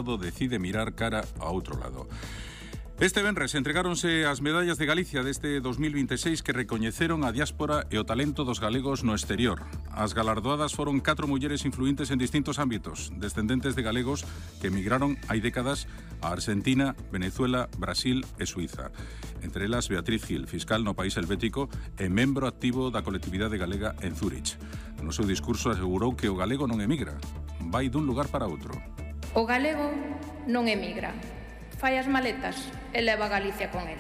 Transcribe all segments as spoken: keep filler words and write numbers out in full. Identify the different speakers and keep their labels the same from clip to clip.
Speaker 1: decide mirar cara a outro lado. Este venres entregáronse as medallas de Galicia deste dos mil vinte e seis que recoñeceron a diáspora e o talento dos galegos no exterior. As galardoadas foron catro mulleres influentes en distintos ámbitos, descendentes de galegos que emigraron hai décadas a Argentina, Venezuela, Brasil e Suiza. Entre elas, Beatriz Gil, fiscal no país helvético e membro activo da colectividade galega en Zúrich. No seu discurso asegurou que o galego non emigra, vai dun lugar para outro.
Speaker 2: O galego non emigra, fai as maletas e leva a Galicia con el.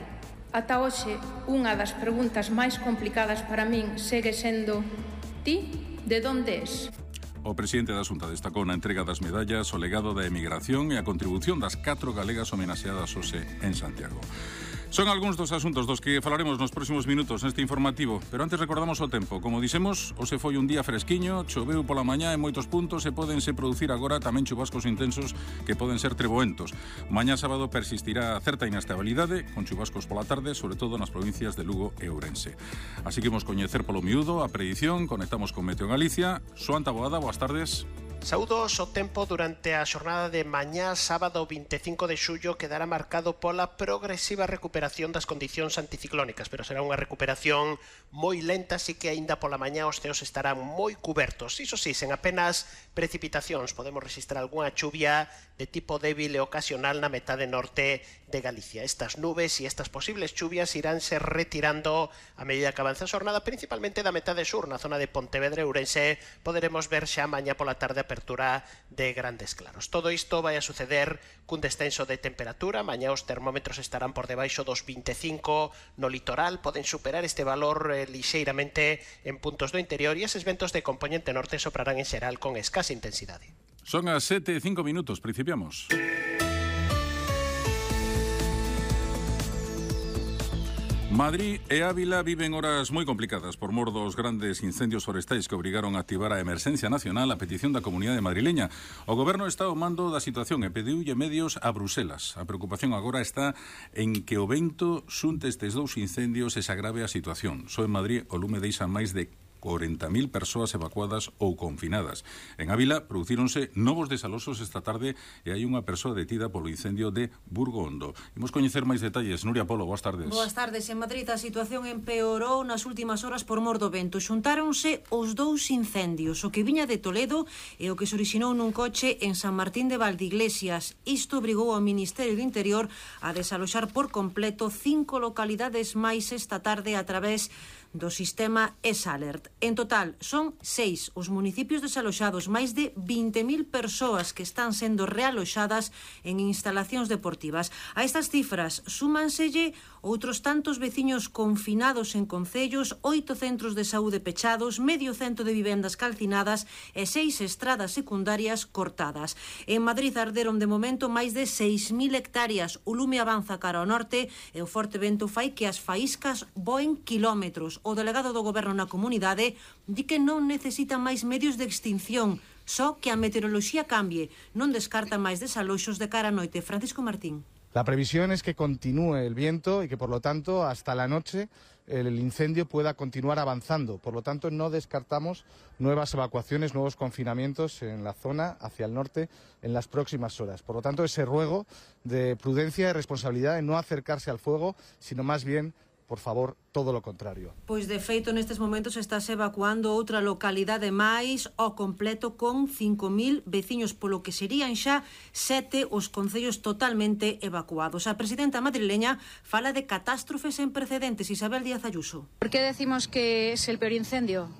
Speaker 2: Ata hoxe, unha das preguntas máis complicadas para min segue sendo: ti, de onde es?
Speaker 1: O presidente da Xunta destacou na entrega das medallas o legado da emigración e a contribución das catro galegas homenaxeadas hoxe en Santiago. Son algúns dos asuntos dos que falaremos nos próximos minutos neste informativo, pero antes recordamos o tempo. Como dixemos, hoxe foi un día fresquiño, choveu pola mañá en moitos puntos e pódense producir agora tamén chubascos intensos que poden ser treboentos. Mañá sábado persistirá certa inestabilidade, con chubascos pola tarde, sobre todo nas provincias de Lugo e Ourense. Así que imos coñecer polo miúdo a predición, conectamos con Meteo Galicia. Xoan Taboada, boas tardes.
Speaker 3: Saúdos, o tempo durante a xornada de mañá, sábado vinte e cinco de xullo, quedará marcado pola progresiva recuperación das condicións anticiclónicas, pero será unha recuperación moi lenta, así que aínda pola mañá os ceos estarán moi cubertos. Iso sí, sen apenas precipitacións, podemos registrar algunha chuvia de tipo débil e ocasional na metade norte de Galicia. Estas nubes e estas posibles chuvias iránse retirando a medida que avanza a xornada, principalmente da metade sur, na zona de Pontevedra e Ourense. Poderemos ver xa mañá pola tarde a apertura de grandes claros. Todo isto vai a suceder cun descenso de temperatura. Mañá os termómetros estarán por debaixo dos vinte e cinco no litoral, poden superar este valor eh, lixeiramente en puntos do interior, e eses ventos de componente norte soprarán en xeral con escasa intensidade.
Speaker 1: Son as sete e cinco minutos, principiamos. Madrid e Ávila viven horas moi complicadas por mor dos grandes incendios forestais que obrigaron a activar a emerxencia nacional a petición da comunidade madrileña. O goberno está ao mando da situación e pediulle medios a Bruselas. A preocupación agora está en que o vento xunte estes dous incendios e se agrave a situación. Só en Madrid o lume deixa máis de corenta mil persoas evacuadas ou confinadas. En Ávila producíronse novos desaloxos esta tarde e hai unha persoa detida polo incendio de Burgo Hondo. Imos coñecer máis detalles. Nuria Polo, boas tardes.
Speaker 4: Boas tardes. En Madrid a situación empeorou nas últimas horas por mor do vento. Xuntáronse os dous incendios, o que viña de Toledo e o que se orixinou nun coche en San Martín de Valdeiglesias. Isto obrigou ao Ministerio do Interior a desaloxar por completo cinco localidades máis esta tarde a través do sistema ESAlert. En total, son seis os municipios desaloxados, máis de vinte mil persoas que están sendo realoxadas en instalacións deportivas. A estas cifras súmanselle outros tantos veciños confinados en concellos, oito centros de saúde pechados, medio cento de vivendas calcinadas e seis estradas secundarias cortadas. En Madrid arderon de momento máis de seis mil hectáreas. O lume avanza cara ao norte e o forte vento fai que as faíscas voen kilómetros. O delegado do goberno na comunidade di que non necesita máis medios de extinción, só que a meteoroloxía cambie. Non descarta máis desaloxos de cara a noite. Francisco Martín.
Speaker 5: La previsión es que continúe el viento y que por lo tanto hasta la noche el incendio pueda continuar avanzando. Por lo tanto no descartamos nuevas evacuaciones, nuevos confinamientos en la zona hacia el norte en las próximas horas. Por lo tanto ese ruego de prudencia y responsabilidad de no acercarse al fuego, sino más bien, por favor, todo lo contrario.
Speaker 4: Pois de feito nestes momentos estáse evacuando outra localidade máis ao completo con cinco mil veciños, polo que serían xa sete os concellos totalmente evacuados. A presidenta madrileña fala de catástrofes sen precedentes. Isabel Díaz Ayuso.
Speaker 6: ¿Por qué decimos que es el peor incendio?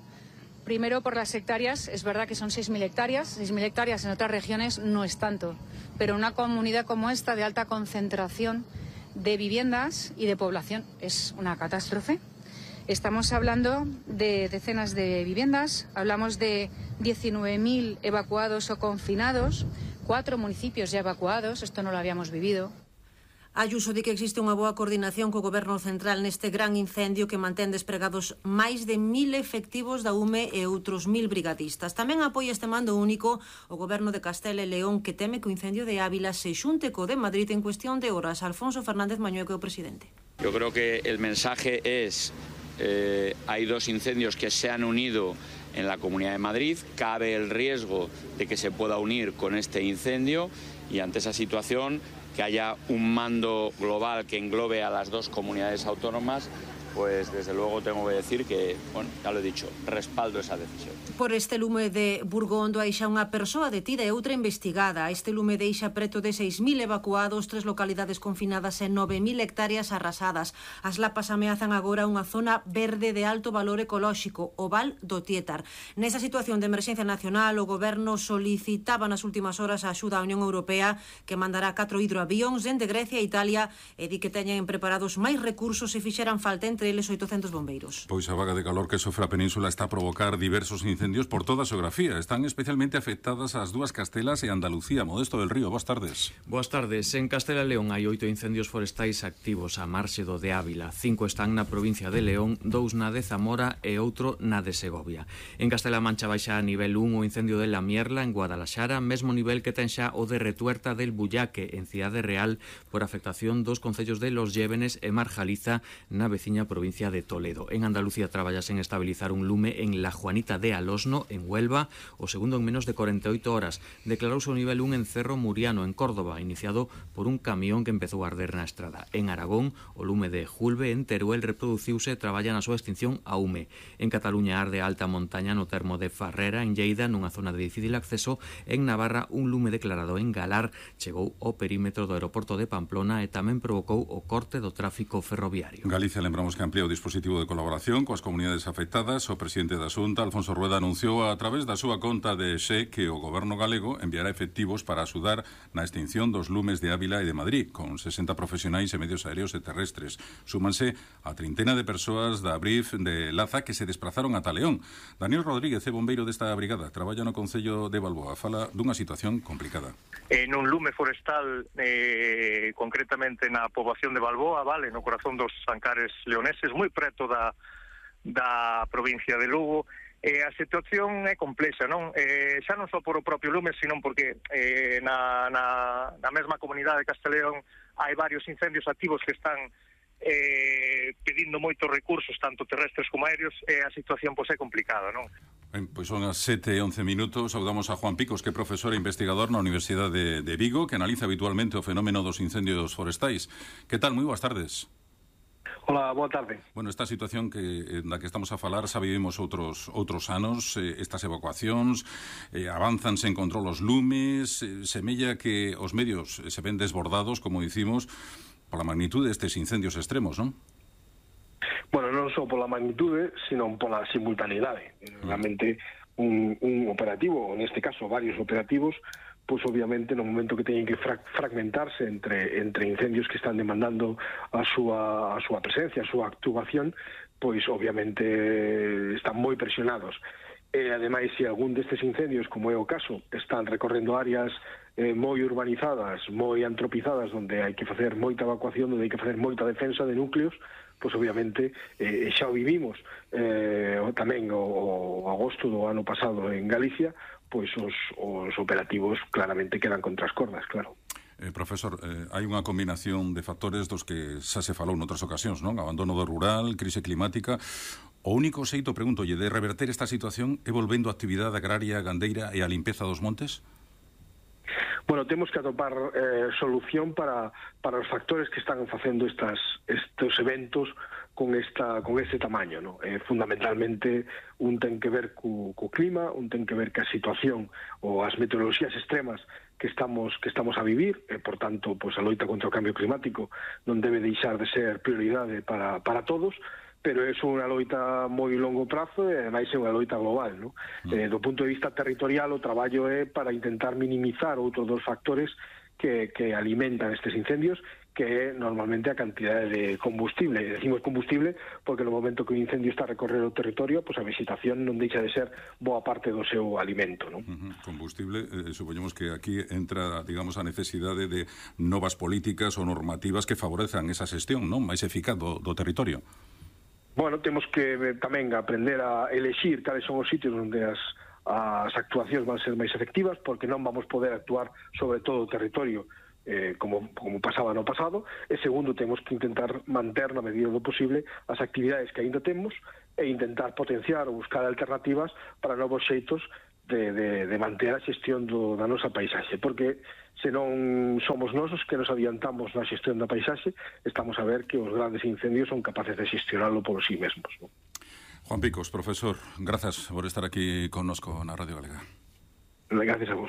Speaker 6: Primero por las hectáreas, es verdad que son seis mil hectáreas, seis mil hectáreas en otras regiones no es tanto, pero una comunidad como esta de alta concentración de viviendas y de población es una catástrofe. Estamos hablando de decenas de viviendas, hablamos de diecinueve mil evacuados o confinados, cuatro municipios ya evacuados, esto no lo habíamos vivido.
Speaker 4: Ayuso di que existe unha boa coordinación co goberno central neste gran incendio que mantén despregados máis de mil efectivos da U M E e outros mil brigadistas. Tamén apoia este mando único o goberno de Castela e León, que teme que o incendio de Ávila se xunte co de Madrid en cuestión de horas. Alfonso Fernández Mañueco, o presidente.
Speaker 7: Yo creo que el mensaje es, eh, hay dos incendios que se han unido en la Comunidad de Madrid, cabe el riesgo de que se pueda unir con este incendio y ante esa situación que haya un mando global que englobe a las dos comunidades autónomas, pues desde luego tengo que decir que, bueno, ya lo he dicho, respaldo esa decisión.
Speaker 4: Por este lume de Burgondo hai xa unha persoa detida e outra investigada. Este lume deixa preto de seis mil evacuados, tres localidades confinadas e nove mil hectáreas arrasadas. As lapas ameazan agora unha zona verde de alto valor ecolóxico, o Val do Tietar. Nesa situación de emerxencia nacional, o goberno solicitaba nas últimas horas a axuda á Unión Europea, que mandará catro hidroavións dende Grecia e Italia, e di que teñen preparados máis recursos se fixeran falta entre eles oitocentos bombeiros.
Speaker 1: Pois a vaga de calor que sofre a península está a provocar diversos incendios por toda a xeografía. Están especialmente afectadas as dúas Castelas e Andalucía. Modesto del Río, boas tardes.
Speaker 8: Boas tardes. En Castela e León hai oito incendios forestais activos a marxe do de Ávila. Cinco están na provincia de León, dous na de Zamora e outro na de Segovia. En Castela Mancha baixa a nivel un o incendio de La Mierla en Guadalaxara, mesmo nivel que ten xa o de Retuerta del Bullaque en Cidade Real por afectación dos concellos de Los Llévenes e Marjaliza na veciña provincia de Toledo. En Andalucía traballas en estabilizar un lume en La Juanita de Alosno, en Huelva, o segundo en menos de corenta e oito horas. Declarouse o nivel un en Cerro Muriano, en Córdoba, iniciado por un camión que empezou a arder na estrada. En Aragón, o lume de Julve, en Teruel, reproduciuse e traballa na súa extinción a Ume. En Cataluña arde a alta montaña no termo de Farrera, en Lleida, nunha zona de difícil acceso. En Navarra, un lume declarado en Galar chegou ao perímetro do aeroporto de Pamplona e tamén provocou o corte do tráfico ferroviario.
Speaker 1: Galicia, lembramos que amplía o dispositivo de colaboración coas comunidades afectadas. O presidente da Xunta, Alfonso Rueda, anunciou a través da súa conta de Xe que o goberno galego enviará efectivos para axudar na extinción dos lumes de Ávila e de Madrid, con sesenta profesionais e medios aéreos e terrestres. Súmanse a trintena de persoas da Brif de Laza que se desplazaron ata León. Daniel Rodríguez é bombeiro desta brigada, traballa no Concello de Balboa, fala dunha situación complicada.
Speaker 9: En un lume forestal, eh, concretamente na poboación de Balboa, vale, no corazón dos Ancares leoneses, moi preto da, da provincia de Lugo. Eh, a situación é complexa, non? Eh, xa non só por o propio lume, sino porque eh, na, na, na mesma comunidade de Casteleón hai varios incendios activos que están eh, pedindo moitos recursos, tanto terrestres como aéreos, e a situación pois, é complicada, non?
Speaker 1: Ben, pois son as sete e once minutos. Saudamos a Juan Picos, que é profesor e investigador na Universidade de, de Vigo, que analiza habitualmente o fenómeno dos incendios forestais. Que tal? Moi boas tardes.
Speaker 10: Hola, boa tarde.
Speaker 1: Bueno, esta situación que da que estamos a falar xa vivimos outros outros anos, eh, estas evacuacións, eh, avánzanse en control os lumes, eh, semella que os medios se ven desbordados, como dicimos, pola magnitude destes incendios extremos, non?
Speaker 10: Bueno, non só pola magnitude, sino pola simultaneidade. Realmente un, un operativo, neste caso varios operativos, pois obviamente no momento que teñen que fra fragmentarse entre entre incendios que están demandando a súa a súa presencia, a súa actuación, pois obviamente están moi presionados. E ademais, se algún destes incendios, como é o caso, están recorrendo áreas eh, moi urbanizadas, moi antropizadas, onde hai que facer moita evacuación, onde hai que facer moita defensa de núcleos, pois obviamente eh, xa o vivimos eh, tamén o, o agosto do ano pasado en Galicia, pois os, os operativos claramente quedan contra as cordas, claro.
Speaker 1: Eh, profesor, eh, hai unha combinación de factores dos que xa se falou noutras ocasións, non? Abandono do rural, crise climática. O único xeito, pregúntolle, de reverter esta situación é volvendo a actividade agraria, gandeira e a limpeza dos montes?
Speaker 10: Bueno, temos que atopar eh, solución para, para os factores que están facendo estas, estes eventos con esta con este tamaño, ¿no? Eh, fundamentalmente un ten que ver co, co clima, un ten que ver ca situación ou as meteoroloxías extremas que estamos que estamos a vivir, e por tanto, pois a loita contra o cambio climático non debe deixar de ser prioridade para para todos, pero é unha loita moi longo prazo e ademais é unha loita global, ¿no? Mm. Eh, do punto de vista territorial, o traballo é para intentar minimizar outros dos factores que, que alimentan estes incendios, que é normalmente a cantidade de combustible. Decimos combustible porque no momento que o incendio está a recorrer o territorio, pois a vegetación non deixa de ser boa parte do seu alimento, non?
Speaker 1: Uh-huh. Combustible, eh, supoñemos que aquí entra, digamos, a necesidade de novas políticas ou normativas que favorezan esa xestión, non? Máis eficaz do, do territorio.
Speaker 10: Bueno, temos que eh, tamén aprender a elexir cales son os sitios onde as as actuacións van ser máis efectivas, porque non vamos poder actuar sobre todo o territorio eh, como, como pasaba no pasado, e segundo, temos que intentar manter na medida do posible as actividades que aínda temos e intentar potenciar ou buscar alternativas para novos xeitos de, de, de manter a xestión do, da nosa paisaxe, porque se non somos nosos que nos adiantamos na xestión da paisaxe, estamos a ver que os grandes incendios son capaces de xestionarlo por sí mesmos, ¿no?
Speaker 1: Juan Picos, profesor, grazas por estar aquí connosco na Radio Galega.
Speaker 10: Gracias a vos.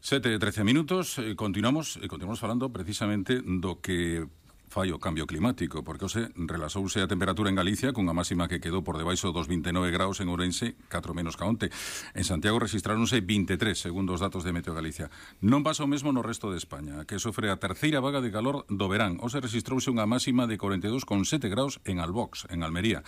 Speaker 1: Sete e trece minutos, e continuamos, e continuamos falando precisamente do que fai o cambio climático, porque hoxe relaxouse a temperatura en Galicia cunha máxima que quedou por debaixo dos vinte e nove graus en Ourense, catro menos ca onte. En Santiago registráronse vinte e tres, segundo os datos de Meteo Galicia. Non pasa o mesmo no resto de España, que sofre a terceira vaga de calor do verán. Hoxe registrouse unha máxima de corenta e dous coma sete graus en Albox, en Almería.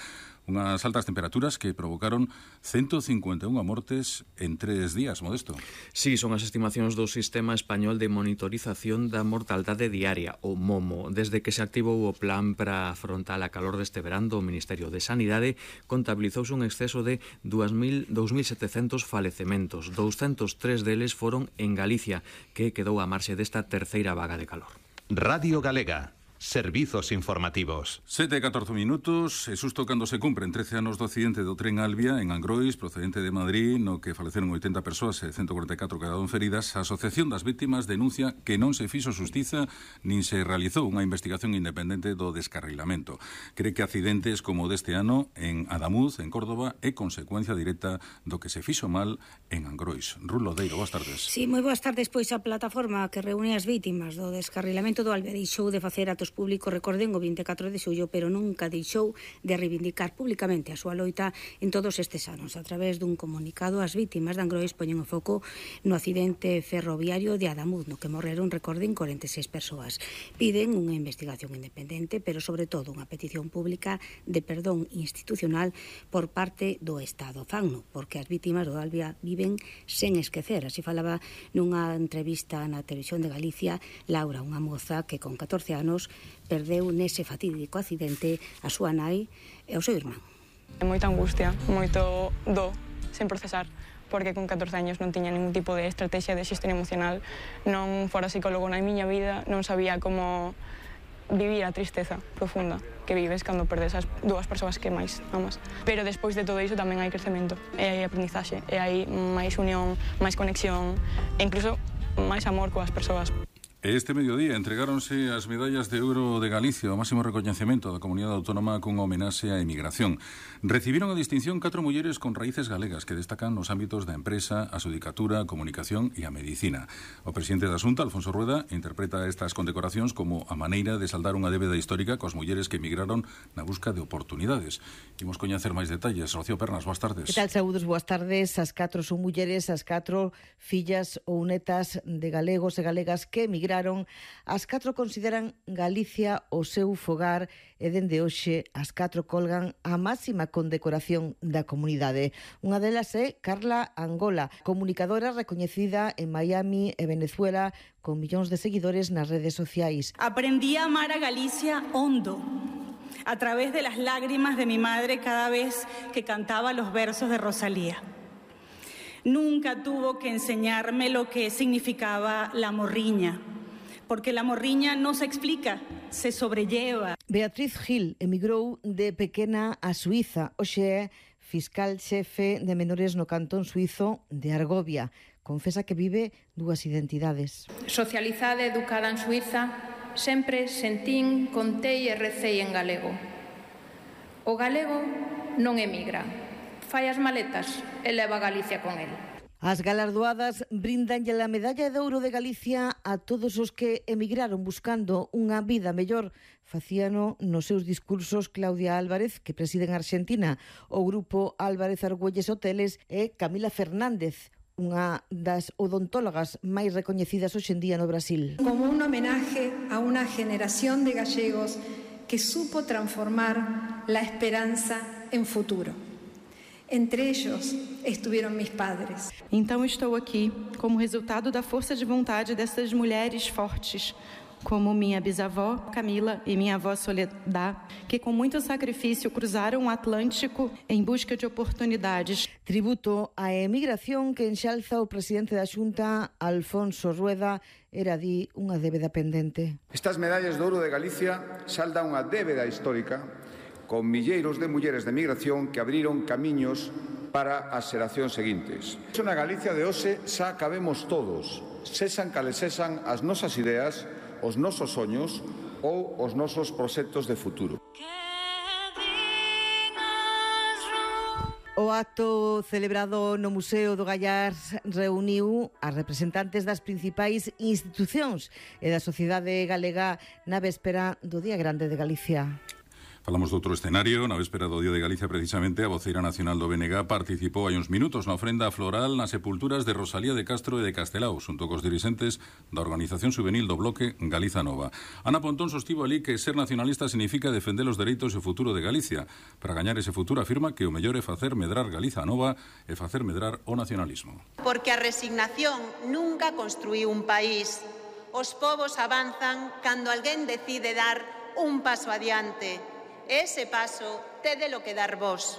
Speaker 1: Unhas altas temperaturas que provocaron ciento cincuenta e unha mortes en tres días, Modesto.
Speaker 8: Sí, son as estimacións do Sistema Español de Monitorización da Mortaldade Diaria, o MOMO. Desde que se activou o plan para afrontar a calor deste verán do Ministerio de Sanidade, contabilizouse un exceso de dous mil setecentos falecementos. douscentos tres deles foron en Galicia, que quedou a marxe desta terceira vaga de calor.
Speaker 11: Radio Galega. Servizos informativos.
Speaker 1: Sete e catorce minutos, e susto cando se cumpren trece anos do accidente do tren Albia en Angrois, procedente de Madrid, no que faleceron oitenta persoas e ciento cuarenta e catro quedaron feridas. A Asociación das Víctimas denuncia que non se fixo xustiza nin se realizou unha investigación independente do descarrilamento. Cree que accidentes como o deste ano en Adamuz, en Córdoba, é consecuencia directa do que se fixo mal en Angrois. Rulo Deiro, boas tardes.
Speaker 12: Sí, moi boas tardes. Pois a plataforma que reúne as vítimas do descarrilamento do Albia deixou de facer atos públicos, recorden, o vinte e catro de xullo, pero nunca deixou de reivindicar públicamente a súa loita en todos estes anos. A través dun comunicado, as vítimas de Angrois poñen o foco no accidente ferroviario de Adamuz, no que morreron, recorden, corenta e seis persoas. Piden unha investigación independente, pero sobre todo unha petición pública de perdón institucional por parte do Estado. Fanno, porque as vítimas do Albia viven sen esquecer. Así falaba nunha entrevista na Televisión de Galicia Laura, unha moza que con catorce anos perdeu nese fatídico accidente a súa nai e o seu irmán.
Speaker 13: Moita angustia, moito do, sen procesar, porque con catorce años non tiña ningún tipo de estrategia de xestión emocional, non fora psicólogo na miña vida, non sabía como vivir a tristeza profunda que vives cando perdes as dúas persoas que máis amas. Pero despois de todo iso tamén hai crecemento, e hai aprendizaxe, e hai máis unión, máis conexión, e incluso máis amor coas persoas.
Speaker 1: Este mediodía entregáronse as medallas de ouro de Galicia, o máximo recoñecemento da comunidade autónoma cunha homenaxe á emigración. Recibiron a distinción catro mulleres con raíces galegas que destacan nos ámbitos da empresa, a xudicatura, a comunicación e a medicina. O presidente da Xunta, Alfonso Rueda, interpreta estas condecoracións como a maneira de saldar unha débeda histórica coas mulleres que emigraron na busca de oportunidades. Imos coñecer máis detalles. Rocío Pernas, boas tardes.
Speaker 14: Que tal, saúdos, boas tardes. As catro son mulleres, as catro fillas ou netas de galegos e galegas que emigraron. As catro consideran Galicia o seu fogar e dende hoxe as catro colgan a máxima condecoración da comunidade. Unha delas é Carla Angola, comunicadora recoñecida en Miami e Venezuela con millóns de seguidores nas redes sociais.
Speaker 15: Aprendí a amar a Galicia hondo, a través de las lágrimas de mi madre cada vez que cantaba los versos de Rosalía. Nunca tuvo que enseñarme lo que significaba la morriña, porque la morriña no se explica, se sobrelleva.
Speaker 14: Beatriz Gil emigrou de pequena a Suiza. Hoxe é fiscal xefe de menores no cantón suizo de Argovia. Confesa que vive dúas identidades.
Speaker 2: Socializada e educada en Suiza, sempre sentín, contei e recei en galego. O galego non emigra, fai as maletas e leva a Galicia con el.
Speaker 14: As galardoadas brindanlle a medalla de ouro de Galicia a todos os que emigraron buscando unha vida mellor. Facíano nos seus discursos Claudia Álvarez, que preside en Argentina, o grupo Álvarez Argüelles Hoteles, e Camila Fernández, unha das odontólogas máis recoñecidas hoxe en día no Brasil.
Speaker 16: Como un homenaje a unha generación de gallegos que supo transformar la esperanza en futuro. Entre ellos estuvieron mis padres.
Speaker 17: Então estou aqui como resultado da força de vontade dessas mulheres fortes, como minha bisavó Camila e minha avó Soledad, que com muito sacrifício cruzaram o Atlântico em busca de oportunidades.
Speaker 14: Tributo á emigración que enxalza o presidente da Xunta, Alfonso Rueda, era di unha débeda pendente.
Speaker 18: Estas medallas de ouro de Galicia saldan unha débeda histórica con milleiros de mulleres de emigración que abriron camiños para as xeracións seguintes. Na Galicia de hoxe xa cabemos todos, sexan cales sexan as nosas ideas, os nosos soños ou os nosos proxectos de futuro.
Speaker 14: O acto celebrado no Museo do Gallar reuniu as representantes das principais institucións e da sociedade galega na véspera do Día Grande de Galicia.
Speaker 1: Falamos de outro escenario. Na véspera do Día de Galicia, precisamente, a voceira nacional do B N G participou hai uns minutos na ofrenda floral nas sepulturas de Rosalía de Castro e de Castelao, xunto cos dirixentes da organización juvenil do bloque Galiza Nova. Ana Pontón sostivo ali que ser nacionalista significa defender os dereitos e o futuro de Galicia. Para gañar ese futuro afirma que o mellor é facer medrar Galiza Nova e facer medrar o nacionalismo.
Speaker 19: Porque a resignación nunca construíu un país. Os povos avanzan cando alguén decide dar un paso adiante. Ese paso tédelo que dar vos,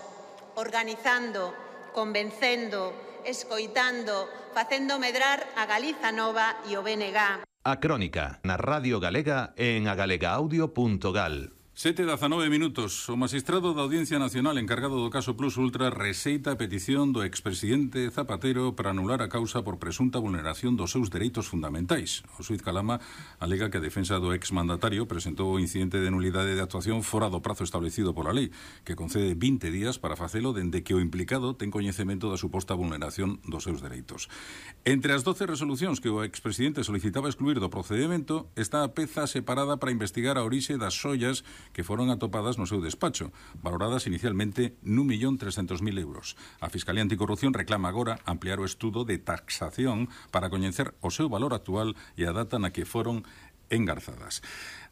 Speaker 19: organizando, convencendo, escoitando, facendo medrar a Galiza Nova e o B N G.
Speaker 11: A Crónica, na Radio Galega e en agalegaaudio punto gal.
Speaker 1: sete e dezanove minutos. O magistrado da Audiencia Nacional encargado do caso Plus Ultra rexeita a petición do expresidente Zapatero para anular a causa por presunta vulneración dos seus dereitos fundamentais. O xuíz Calama alega que a defensa do exmandatario presentou o incidente de nulidade de actuación fora do prazo establecido pola lei, que concede vinte días para facelo dende que o implicado ten coñecemento da suposta vulneración dos seus dereitos. Entre as doce resolucións que o expresidente solicitaba excluir do procedimento está a peza separada para investigar a orixe das xoias que foron atopadas no seu despacho, valoradas inicialmente nun millón trescentos mil euros. A Fiscalía Anticorrupción reclama agora ampliar o estudo de taxación para coñecer o seu valor actual e a data na que foron engarzadas.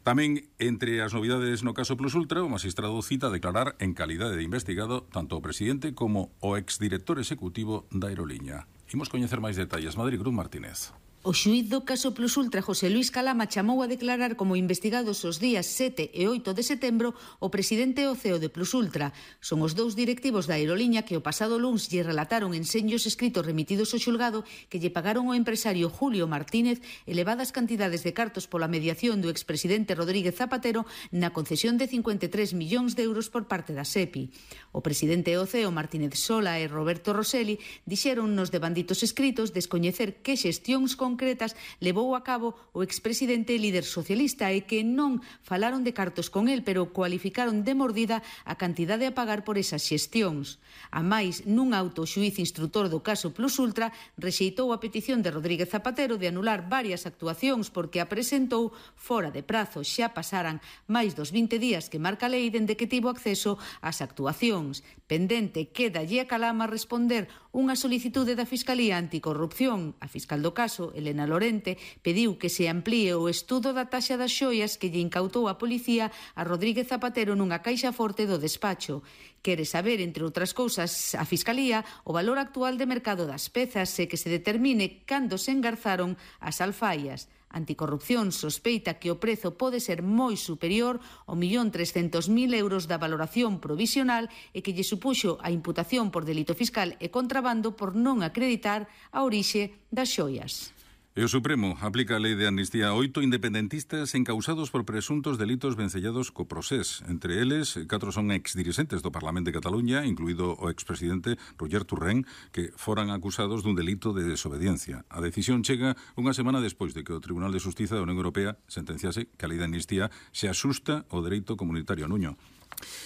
Speaker 1: Tamén, entre as novidades no caso Plus Ultra, o magistrado cita a declarar en calidade de investigado tanto o presidente como o exdirector executivo da aeroliña. Imos coñecer máis detalles. Madrid, Cruz Martínez.
Speaker 20: O xuíz do caso Plus Ultra, José Luis Calama, chamou a declarar como investigados os días sete e oito de setembro o presidente e o C E O de Plus Ultra. Son os dous directivos da aeroliña que o pasado luns lle relataron en senllos escritos remitidos ao xulgado que lle pagaron ao empresario Julio Martínez elevadas cantidades de cartos pola mediación do expresidente Rodríguez Zapatero na concesión de cincuenta e tres millóns de euros por parte da SEPI. O presidente e o C E O Martínez Sola e Roberto Rosselli dixeron nos devanditos escritos descoñecer que xestións con concretas levou a cabo o expresidente e líder socialista e que non falaron de cartos con el, pero cualificaron de mordida a cantidade a pagar por esas xestións. A máis, nun auto, o xuíz instrutor do caso Plus Ultra rexeitou a petición de Rodríguez Zapatero de anular varias actuacións porque a presentou fora de prazo. Xa pasaran máis dos vinte días que marca a lei dende que tivo acceso ás actuacións. Pendente quédalle a Calama responder unha solicitude da Fiscalía Anticorrupción. A fiscal do caso, Elena Lorente, pediu que se amplíe o estudo da taxa das xoias que lle incautou a policía a Rodríguez Zapatero nunha caixa forte do despacho. Quere saber, entre outras cousas, a Fiscalía o valor actual de mercado das pezas e que se determine cando se engarzaron as alfaias. Anticorrupción sospeita que o prezo pode ser moi superior ao millón trescentos mil euros da valoración provisional e que lle supuxo a imputación por delito fiscal e contrabando por non acreditar a orixe das xoias.
Speaker 1: E o Supremo aplica a lei de amnistía a oito independentistas encausados por presuntos delitos vencellados co procés. Entre eles, catro son exdirixentes do Parlamento de Cataluña, incluído o expresidente Roger Torrent, que foran acusados dun delito de desobediencia. A decisión chega unha semana despois de que o Tribunal de Xustiza da Unión Europea sentenciase que a lei de amnistía se asusta ao dereito comunitario. Nuño.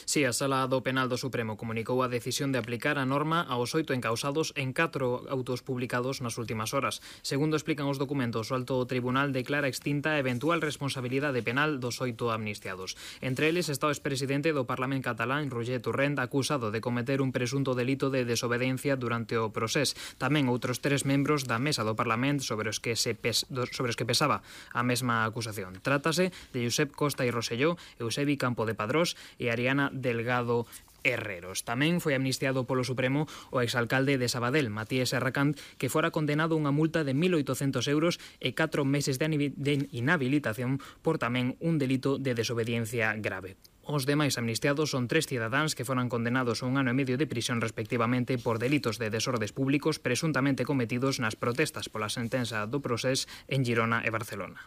Speaker 21: Si, a Sala do Penal do Supremo comunicou a decisión de aplicar a norma aos oito encausados en catro autos publicados nas últimas horas. Segundo explican os documentos, o Alto Tribunal declara extinta a eventual responsabilidade penal dos oito amnistiados. Entre eles está o expresidente do Parlamento catalán, Roger Torrent, acusado de cometer un presunto delito de desobediencia durante o procés. Tamén outros tres membros da mesa do Parlamento sobre os que se pes, sobre os que pesaba a mesma acusación. Trátase de Josep Costa e Rosselló, Eusebi Campo de Padrós e Ariana Delgado Herreros. Tamén foi amnistiado polo Supremo o exalcalde de Sabadell, Matías Serracant, que fora condenado a unha multa de mil oitocentos euros e catro meses de inhabilitación por tamén un delito de desobediencia grave. Os demais amnistiados son tres cidadáns que foran condenados a un ano e medio de prisión respectivamente por delitos de desordes públicos presuntamente cometidos nas protestas pola sentenza do procés en Girona e Barcelona.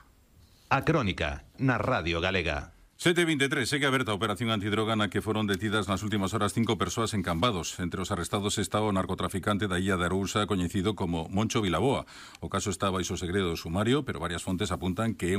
Speaker 11: A Crónica, na Radio Galega.
Speaker 1: sete e veintitrés, segue aberta a operación antidroga na que foron detidas nas últimas horas cinco persoas en Cambados. Entre os arrestados está o narcotraficante da illa de Arousa coñecido como Moncho Vilaboa. O caso está baixo segredo do sumario, pero varias fontes apuntan que é un